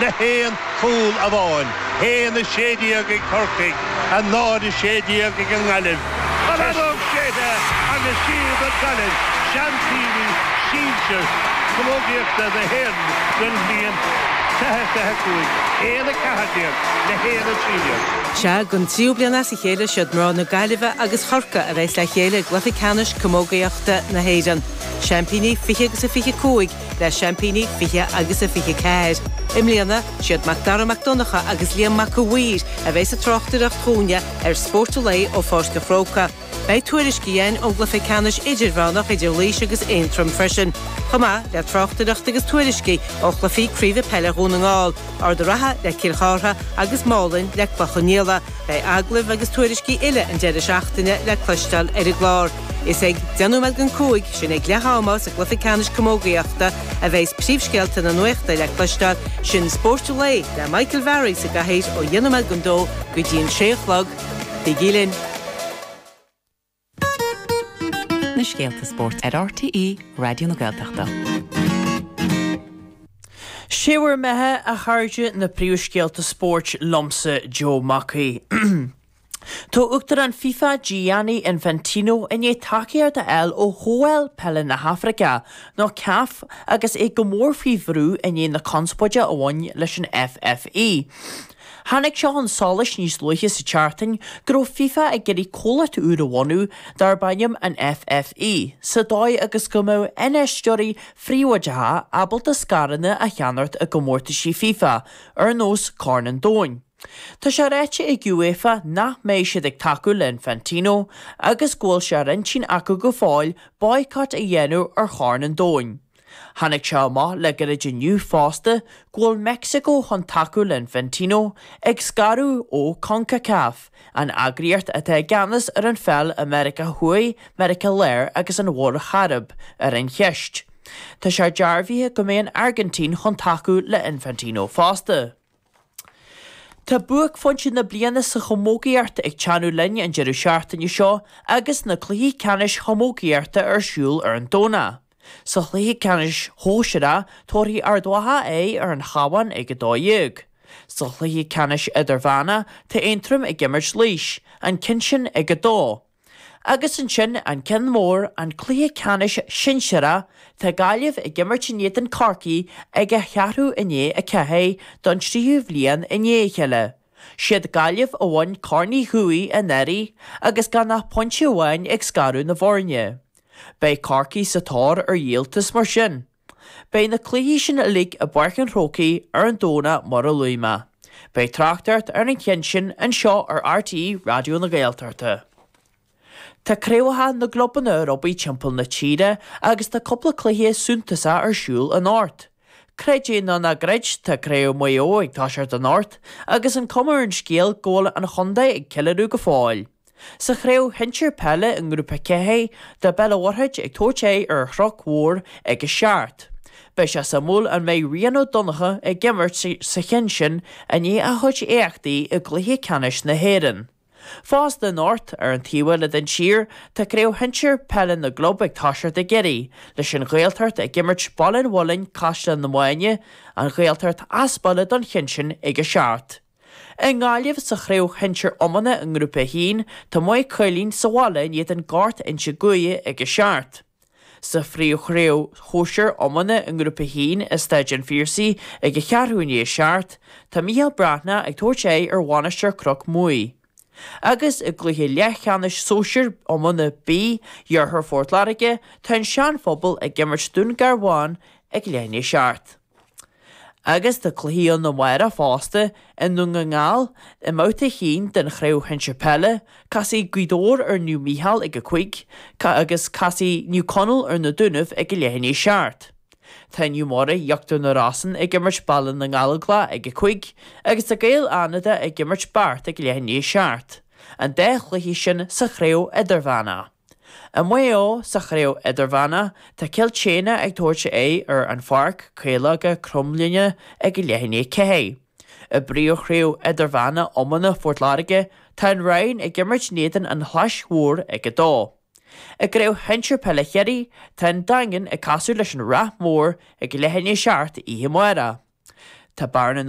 le haon chúl amháin. 1-16 ag Corcaigh, 0-16 ag an nGaillimh. An fheadóg séidte agus siad an Ghaillimh seaimpíní sinsir camógaíochta na hÉireann don bhliain 2025, 1-14 le 1-13. Sea, don tríú bliain as a chéile, siad mná na Gaillimhe agus Chorcaí a bheas le chéile i gcluiche ceannais camógaíochta na hÉireann. Seaimpíní 20 agus a 25 le seaimpíní 20 agus a 24. I mbliana, siad Mac Dara Mac Donncha agus Liam Mac a' Mhaoir a bheas ag tráchtaireacht dhúinne ar Spórt an Lae ó Pháirc an Chrócaigh. Beidh tuairiscí againn ón gcluiche ceannais idirmheánach idir Laois agus Aontroim freisin, chomh maith le tráchtaireacht agus tuairiscí ó chluichí craoibhe peile Dhún na nGall, Ard an Rátha le Cill Chartha agus Málainn le Cloich Cheann Fhaola. Beidh agallaimh agus tuairiscí uile an deireadh seachtaine le cloisteáil ar an gclár. Is ag deich nóiméad don 5, sin ag leath ama sa gcluiche ceannais camógaíochta, a bheas príomhscéalta na nuachta le cloisteáil, sin Spórt an Lae le Michael Barry sa gcathaoir ó dheich nóiméad don dó go dtí an sé a chlog. Bígí linn! Na scéalta spóirt ar RTÉ Raidió na Gaeltachta. Sé bhur mbeatha, a chairde, na príomhscéalta spóirt liomsa, Joe Mac Aoidh. Tá Uachtarán FIFA Gianni Infantino i ndiaidh tacaíocht a fháil ó Chomhdháil Peile na hAfraice, nó CAF, agus é go mór faoi bhrú i ndiaidh na conspóide a bhain leis an FFI. Tháinig sé chun solais níos luaithe sa tseachtain go raibh FIFA ag iarraidh comhlacht úr a bhunú darb ainm an FFI, sa dóigh agus go mbeadh infheisteoirí phríobháideacha ábalta scaireanna a cheannacht i gcomórtaisí FIFA, ar nós Corn an Domhain. Tá sé ráite ag UEFA nach mbeidh siad ag tacú le Infantino agus go bhfuil sé ar intinn acu go fóill baghcat a dhéanamh ar Chorn an Domhain. Tháinig sé amach le gairid inniu fosta go bhfuil Meicsiceo chun tacú le Infantino ag scaradh ó Concacaf, an eagraíocht atá i gceannas ar an pheil i Meiriceá Thuaidh, Meiriceá Láir agus an Mhuir Chairib, ar an cheist. Tá sé dearbhaithe go mbeidh an Airgintín chun tacú le Infantino fosta. Tá buaicphointe na bliana sa chamógaíocht ag teannadh linn an deireadh seachtaine seo agus na cluichí ceannais chamógaíochta ar siúl ar an Domhnach. Sa chluiche ceannais shóisearach, tabharfaidh Ard Mhacha aghaidh ar an Chabhán ag 12:00. Sa chluiche ceannais idirmheánach, tá Aontroim ag imirt Laois, an ceann sin ag 2:00. Agus ansin an ceann mór, an cluiche ceannais sinsearach, tá Gaillimh ag imirt in éadan Corcaigh ag a cheathrú i ndiaidh a 4 don tríú bhliain i ndiaidh a chéile. Siad Gaillimh a bhain Corn Uí Dhubhthaigh anuraidh agus gan ach pointe amháin ag scaradh na bhfoirne. Beidh Corcaigh sa tóir ar dhíoltas mar sin. Beidh na cluichí sin uilig i bPáirc an Chrócaigh ar an Domhnach mar a luaigh mé. Beidh tráchtaireacht ar an cheann sin anseo ar RTÉ Raidió na Gaeltachta. Tá craobhacha na gclubanna ar obair timpeall na tíre agus tá cúpla cluiche suntasach ar siúl anocht. Creid é nó ná creid, tá Craobh Mhaigh Eo ag toiseacht anocht agus an cuma ar an scéal go bhfuil an chontae ag ceiliúradh go fóill. Sa chraobh shinsir peile i nGrúpa 4, tá Béal an Mhuirthead ag tabhairt aghaidh ar an Chnoc Mhór ag a 7. Beidh sé suimiúil an mbeidh Rian Ó Donnchadha ag imirt sa cheann sin i ndiaidh a chuid éachtaí i gcluiche ceannais na hÉireann. Fosta anocht, ar an taobh eile den tír, tá craobh shinsir peile na gclub ag toiseacht i gCiarraí, leis an Ghaeltacht ag imirt Baile an Mhuilinn, Caisleán na Máine, an Ghaeltacht as baile don cheann sin ag a 7. I nGaillimh sa chraobh shinsir iomána i nGrúpa 1, tá Maigh Cuilinn sa bhaile in éadan Gort Inse Guaire ag a 7. Sa phríomhchraobh shóisir iomána i nGrúpa 1 i Staid an Phiarsaigh ag a cheathrú i ndiaidh a 7, tá Mícheál Breathnach ag tabhairt aghaidh ar Mhainistir Chnoc Muaidh. Agus i gcluiche leathcheannais sóisir iomána B, Iarthar Phort Láirge, tá an Sean Phobal ag imirt Dún Garbhán ag leath i ndiaidh a 7. Agus tá cluichí ann amárach fosta i nDún na nGall i mbabhta 1 den Chraobh Shinsir Peile, casfaidh Gaoth Dobhair ar Naomh Mícheál ag a 5 agus casfaidh Naomh Conaill ar na Dúnaibh ag a leath i ndiaidh 7. Tá Naomh Muire Íochtar na Rosann ag imirt Baile na nGallóglach ag a 5 agus tá Gaeil Fhánada ag imirt Beart ag leath i ndiaidh 7. An dá chluiche sin sa Chraobh Idirmheánach. I Maigh Eo, sa Chraobh Idirmheánach, tá Cill tSéadhna ag tabhairt aghaidh ar An Pháirc, Caológa Cromghlinne ag leath i ndiaidh 4. I bPríomhchraobh Idirmheánach Iomána Phort Láirge, tá An Rinn ag imirt in éadan An Chlais Mhóir ag 2. I gCraobh Shinsir Peile Chiarraí, tá An Daingean ag casadh leis an Ráth Mór ag leath i ndiaidh 7 oíche amárach. Tá Bearna na.